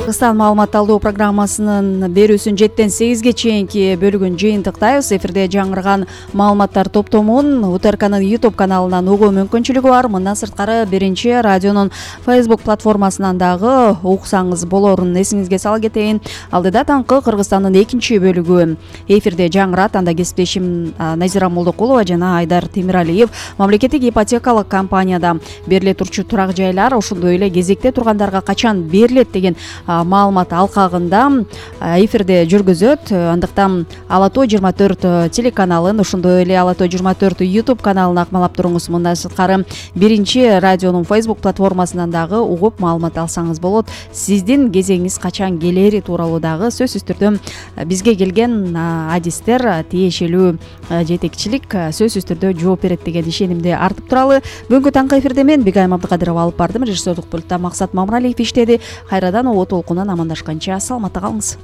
Кыргызстан маалымат алуу программасынын берүүсүн 7-8 чейинки бөлүгүн жыйынтыктайбыз. Эфирде жаңырган маалыматтар топтомун УТРКнын YouTube каналынан угуу мүмкүнчүлүгү бар. Мындан сырткары биринчи радионун Facebook платформасынан дагы уксаңыз болорун эсиңизге сала кетейин. Алдыда таңкы Кыргызстандын экинчи бөлүгү эфирде жаңырат. Анда кесиптешим Назира Молдокулова жана Айдар Темиралиев мамлекеттик ипотекалык компанияда бериле турчу турак жайлар, ошондой эле кезекте тургандарга качан берилет деген маалымат алкагында эфирде жүргүзөт. Андыктан Ала Тоо 24 телеканалын, ошондой эле Ала Тоо 24 YouTube каналын акмалап туруңуз. Мындан сырткары биринчи радионун Facebook платформасынан дагы угуп маалымат алсаңыз болот. Сиздин кезегиңиз качан келери тууралуу дагы сөзсүз түрдө бизге келген адистер тиешелүү жетекчилик сөзсүз түрдө жооп берет деген ишенимди артып туралы. Бүгүнкү таңкы эфирде мен Бигайым Абдыкадырова алып бардым. Режиссерлук пультта Максат Мамыралиев иштеди. Кайрадан обо толкунан амандашканча саламатта калыңыз.